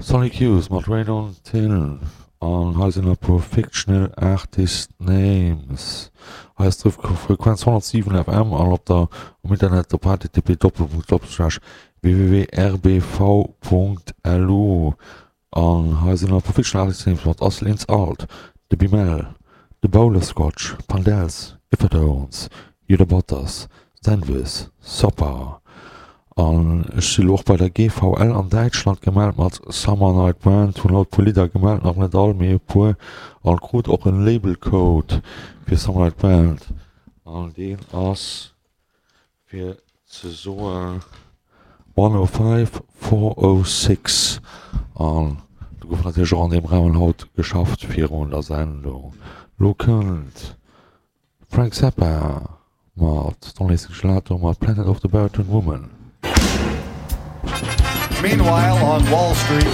Sonic Youth mat Rain on Till an hei sinn e puer Fictional Artist Names. Hei ass d'Frequenz 107 FM an op der um Internet op http://www.rbv.lu An hei sinn e puer Fictional Artist Names mat Assel Ins Alt, de Bimel, de Bowler Scotch, Pandels, Iffertones, Juda Butters, Zenvis, Soppa. An ech si lo och bei der GVL an Däitschland gemellt mat Summer Night Band, hunn haut e puer Lidder gemellt, nach net all, mee e puer, an krut och en Label Code fir Summer Night Band, an deen ass, fir ze soen, 105 406. An do gouf natierlech och an deem Rahmen haut geschafft virun der Sendung. Lo kënnt Frank Zappa mat Don Lacey Gelato mat Planet of the Baritone Woman. Meanwhile on Wall Street.